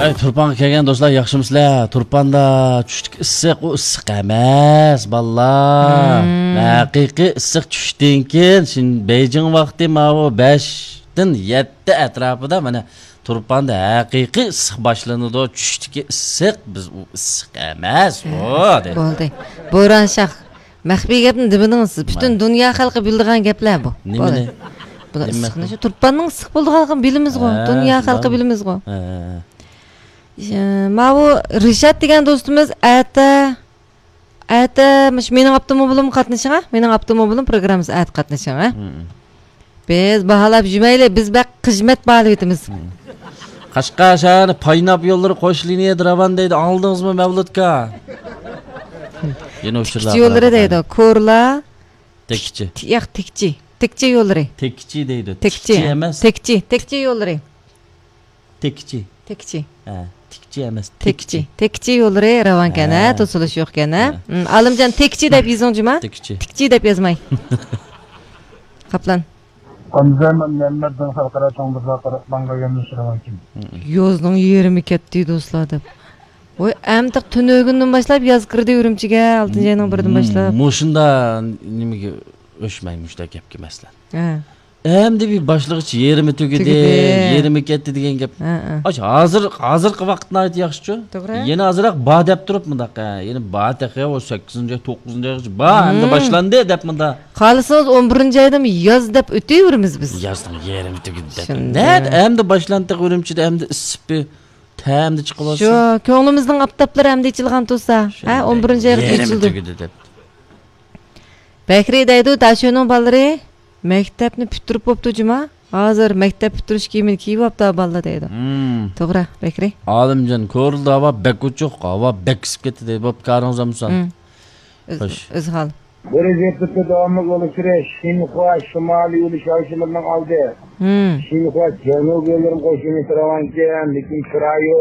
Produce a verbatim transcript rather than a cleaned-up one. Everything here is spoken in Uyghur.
ئەي، تۇرپانغا كەلگەن دوستلار، ياخشىمۇسىلەر؟ تۇرپاندا چۈشتىكى ئىسسىق، ئۇ ئىسسىق ئەمەس، بالىلار. مم. ھەقىقىي ئىسسىق چۈشتىن كېيىن، شىن-، بېيجىڭ ۋاقتى ماۋۇ بەشتىن يەتتە ئەتراپىدا، مانا، تۇرپاندا ھەقىقىي ئىسسىق باشلىنىدۇ. چۈشتىكى ئىسسىق، بىز ئۇ ئىسسىق ئەمەس، ئۇ، ھە، دەيدۇ. بولدى. بوران شاھ، مەخپىي گەپنى دېمىدىڭىز سىز. پۈتۈن دۇنيا خەلقى بىلىدىغان گەپلەر بۇ. نېمىنى؟ بولدى. بۇلار نېمە ئىسسىقنى شۇ تۇرپاننىڭ ئىسسىق بولىدىغانلىقىنى بىلىمىزغۇ. ھە، دۇنيا خەلقى بىلىمىزغۇ. ھە، ھە، ھە. ئى، ماۋۇ رىشات دېگەن دوستىمىز ئەتە، ئەتە مۇشۇ مېنىڭ ئاپتوموبىلىم قاتنىشىڭا، مېنىڭ ئاپتوموبىلىم پروگراممىسى ئەتە قاتنىشىڭا. مم. بىز باھالاپ يۈرمەيلى، بىز بەك خىزمەت باھالىۋېتىمىز. مم. قەشقەر شەھىرى پايناپ يوللىرى قوش لىنىيەدە راۋان دەيدۇ، ئاڭلىدىڭىزمۇ مەۋلۇتكا؟ يەنە ئۇچۇرلار تىكچى يوللىرى دەيدۇ، كورلا. تىكچى. تىك-، ياق، تىكچى. تىكچى يوللىرى. تىكچى دەيدۇ. تىكچى، تىكچى ئەمەس. تىكچى، تىكچى يوللىرى. تىكچى. تىكچى. ھە، تىكچى ئەمەس، تىكچى. تىكچى. تىكچى يوللىرى راۋانكەن، ھە، ھە. توسۇلۇش يوقكەن، ھە. ھە. ئۇم، ئالىمجان، تىكچى دەپ يېزىڭ جۇما. تىكچى. تىكچى دەپ يازماي. قاپلان. ئامىزە مەمەتدىن خەلقئارا چوڭ بازار قاراقلانغا يۆنىلىش راۋانكەن. يازنىڭ يېرىمى كەتتى، دوستلار، دەپ. ۋاي، ئەمدى تۈنۈگۈندىن باشلاپ ياز كىردى ئۈرۈمچىگە، ئالتىنچى ئاينىڭ بىرىدىن باشلاپ. مۇشۇندا نېمىگە ئۆچمەي مۇشۇنداق گەپكە مەسىلەن. ھە. ئەمدى بىر باشلىغۇچ يېرىمى تۈگىدى، تۈگىدى. يېرىمى كەتتى دېگەن گەپ. ھە، ھە. ئاش، ھازىر، ھازىرقى ۋاقىت ناھايىتى ياخشىچۇ. توغرا. يەنە ئازراق بار دەپ تۇرۇپ مۇنداق، ھە، يەنە بار تېخى، ئۇ سەككىزىنچى ئاي، توققۇزىنچى ئايغىچە بار، ئەمدى باشلاندى دەپ مۇنداق. خالىسىڭىز ئون بىرىنچى ئايدىمۇ ياز دەپ ئۆتۈۋېرىمىز بىز. يازنىڭ يېرىمى تۈگىدى دەپ. شۇنداق. نەدە ئەمدى باشلاندى تېخى ئۈرۈمچىدە، ئەمدى ئىسسىپى تەمدە چىقىۋالسۇن. شۇ، كۆڭلىمىزنىڭ ئاپتاپلىرى ئەمدى ئېچىلغان تۇرسا. ھە، ئون بىرىنچى ئايغىچە ئېچىلدى. تۈگىدى دەپ. بەكرى دەيدۇ، داشۆنىڭ بالىلىرى مەكتەپنى پۈتتۈرۈپ بوپتۇ جۇما. ھازىر مەكتەپ پۈتتۈرۈش كىيىمىنى كىيىۋاپتۇ بالىلار دەيدۇ. مم. توغرا، بەكرى. ئالىمجان، كورلىدا ھاۋا بەك ئوچۇق، ھاۋا بەك ئىسسىپ كەتتى دەيدۇ. بوپتۇ، كارىڭىز ئامسان. مم. ئۆز-، خوش. ئۆزھال. بۇ رىزىپتە داۋاملىق يول ئۇچۇرى شىنخۇا شىمالىي يۈرۈش ئاۋشىمىرنىڭ ئالدى. مم. شىنخۇا جەنۇبىي يوللىرىنى قوشۇۋېتىپ راۋانكەن، لېكىن كىرايە